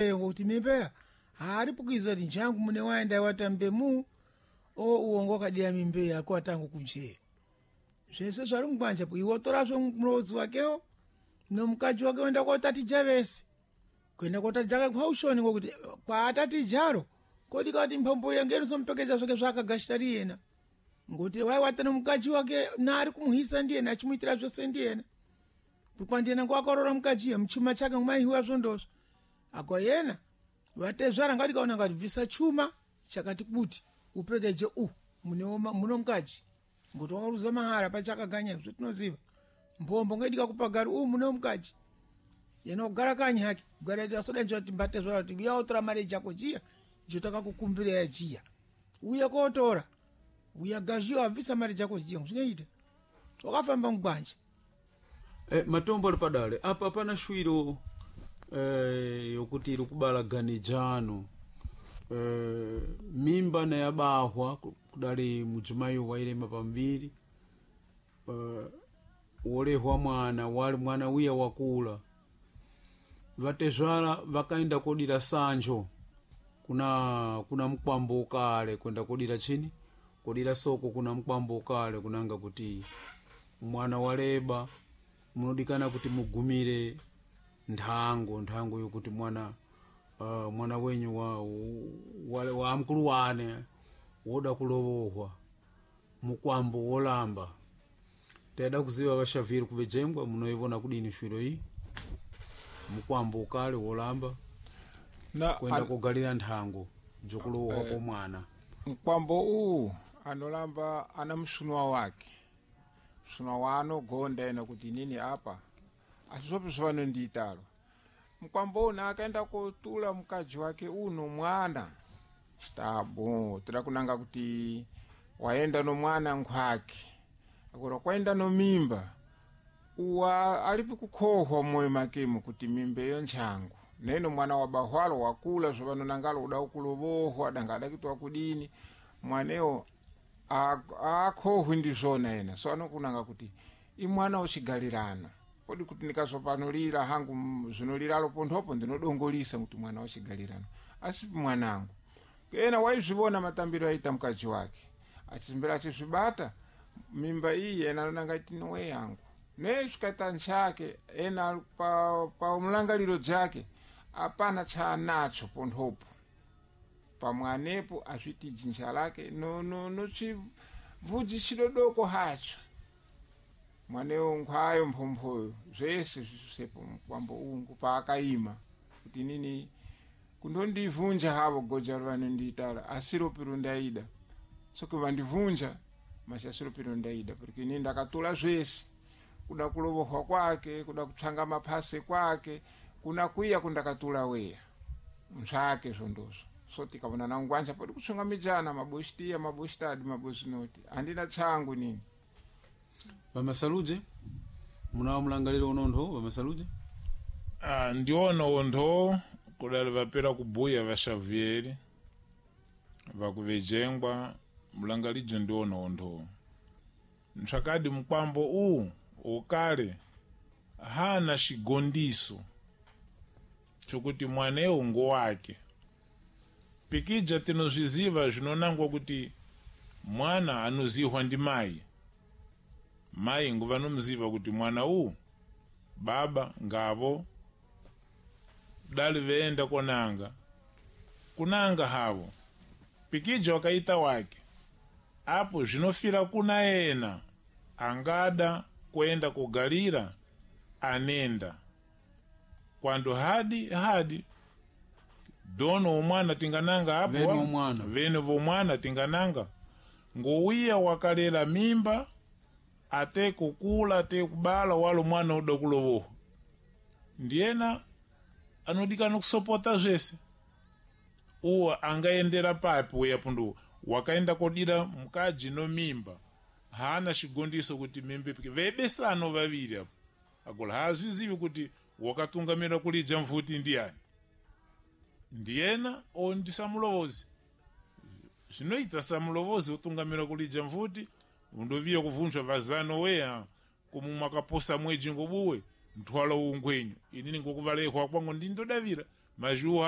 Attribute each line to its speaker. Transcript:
Speaker 1: Ngokuti mimba aripukiza ti nchangu mune waenda watambe mu o uongo kadia mimbeya ako atangu kunje zvese zvari mugwanja po iwe otorazve mulodzi wakeo nomukaji wake wenda kotatija vese kuenda kotatija kwaushoni ngokuti kwaatatijaro kodika kuti mphombo yange inozomupekedza zvake zvaakagashira riyena ngokuti waiwata nomukaji wake naari kumuhisa ndiyena achimuitira zvose ndiyena kwandiyena ngoakarora mukajiya muchuma chake ngomaihiwa zvondozvo akwa yena vatezvara ngatikaona ngati bvisa chuma chakati kuti upekeje u muno mukaji ngokuti wakaruza mahara pachakaganya zvetinoziva mbombo ngaidika kupagari u muno mukaji yena kugara kanyi hake kugara tasoda kuti mbatezvara kuti uya otora mari jako jiya jotakakukumbira yajiya uya kotora uya gazhiwa abvisa mari jako jiya zvinoita wakafamba mugwanja.
Speaker 2: Matombo ali padale apa pana shwiro yokuti iri kubala ganijano mimba nayabahwa kudali mujimayi wailema pamviri wolehwa mwana wali mwana wiya wakula vatezvara vakaenda kodira sanjo kuna mkwambo ukale kwenda kodira chini kodira soko kuna mkwambo ukale kunanga kuti mwana waleba munodikana kuti mugumire nthango yokuti mwana mwana wenyu wa mkulu wane woda kulowohwa mukwambo wolamba. Tayada kuziva vaxaviri kuvejengwa munoivona kudini shwiro iyi mukwambo ukale wolamba
Speaker 3: na
Speaker 2: kwenda kugalira nthango jokulowohwa kwa mwana.
Speaker 3: Mkwambo uwu anolamba ana msunwa wake msunwa wano gonda ena kuti nini apa asi zvope zvavanondiitalo mkwambo uno akaenda kotula mkaji wake uno mwana citabo tira kunanga kuti waenda no mwana nkhwake akura kwaenda no mimba uwa alipi kukhohwa mmoyo makemo kuti mimba iyo ntchangu neno mwana wa bahwalo wakula zvavanonangalo uda kulovohwa danga adakitiwa kudini mwanewo akhohwi ndizvona ena so anokunanga kuti imwana uchigalirano kodi kuti ndikazopanolira hangu zvinoliralo ponthopo ndinodongolisa kuti mwana wachigalirano asipi mwanangu ena waizvivona matambiro aita mkaji wake achimbira achizvibata mimba iyi ena anonanga iti nowe yangu ne zvikaita ntchake ena pa mlangaliro dzake apana chaanacho ponthopo pamwanepo azviti jinja lake nochibvudzi chidodoko hacho mwanewo nkhwayo mphomphoyo zvese zvisepo mukwambo ungu paakaima kuti nini kundondivhunja havo goja vanondiitala asiropi rundaida soke vandivhunja masi asiropi rundaida porque inini ndakatula zvese kuda kulovohwa kwake kuda kupsanga maphase kwake kuna kwiya kundakatula weya mzvake zvondozvo so tikavona nangwanja podi kutsongamijana maboshitiya maboshitadi mabosinoti handina tsangu nini.
Speaker 2: Vamasaluje munawo mlangaliro unontho vamasaluje?
Speaker 4: Ndiona wontho kudali vapera kubuya va Xavier vakuvejengwa mlangalidzo ndiona wontho ntsvakadi mukwambo uwu ukale hana xigondiso chokuti mwanewu ngowake pikija tinozviziva zvinonangwa kuti mwana anozihwa ndi mayi mayi nguvanomuziva kuti mwana uwu baba ngavo dali veenda konanga kunanga havo pikija wakaita wake apo zvinofira kuna ena angada kuenda kugalira anenda kwandu hadi hadi dono umwana tingananga apo
Speaker 2: Vene umwana.
Speaker 4: vene vomwana tingananga ngowiya wakalela mimba ate kukula ate kubala walo mwana uda kulovohwa ndiyena anodikana kusopota zvese uwo angaendera papi uya pundu wakaenda kodira mukadzi no mimba haana xigondiso kuti mimba ipike vebesano vaviri apo agola haazvizivi kuti wakatungamira kulija mvuti ndiyani ndiyena o ndi samulovozi zvinoita samulovozi utungamira kulija mvuti undoviya kuvunzwa vazano weya kumu mwakaposa mweji ngobuwe nthwala ungwenyu inini ngokuvalehwa kwangu ndindodavira mazhuwa.